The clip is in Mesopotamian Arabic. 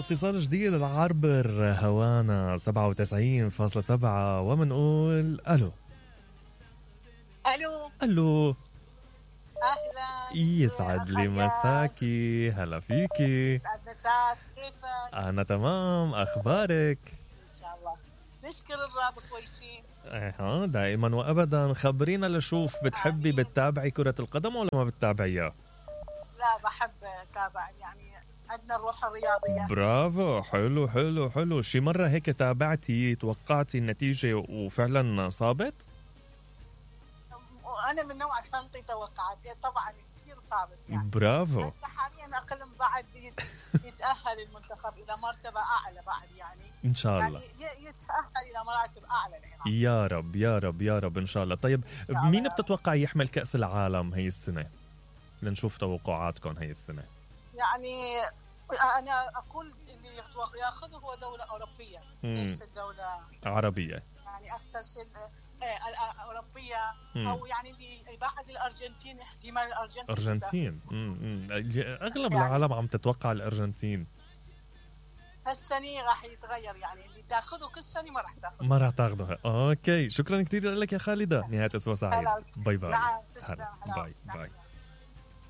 اتصال جديد العربر هوانا 97.7 ومنقول الو. الو اهلا، يسعد لي مساكي. هلا فيكي. يسعد مساك، كيفك؟ انا تمام، اخبارك؟ ان شاء الله نشكر الرب كويسين. دائما وابدا. خبرينا لشوف، بتحبي بتتابعي كرة القدم ولا ما بتتابعيها؟ لا بحب اتابع، يعني عندنا الروح الرياضية. برافو، حلو حلو حلو. شي مرة هيك تابعتي توقعتي النتيجة وفعلا صابت؟ وانا من نوع انطي توقعات طبعا كثير صعبت يعني. برافو. بس حاليا اقل بعد يتاهل المنتخب الى مرتبه اعلى بعد، يعني ان شاء الله يعني يتاهل الى مراتب اعلى العراق. يا رب يا رب يا رب ان شاء الله. طيب مين بتتوقع يحمل كأس العالم هي السنة؟ لنشوف توقعاتكم هي السنة. يعني انا اقول اللي ياخذه هو دولة اوروبية ليست دولة عربية، يعني اكثر شيء أوروبية. أو يعني بعد الأرجنتين، احتمال الأرجنتين. أغلب يعني العالم عم تتوقع الأرجنتين. هالسنة راح يتغير، يعني اللي تاخذه كل سنة ما راح تاخذها. أوكي، شكرا كثير لك يا خالدة. نهاية أسبوع سعيد. باي باي. نعم. باي باي.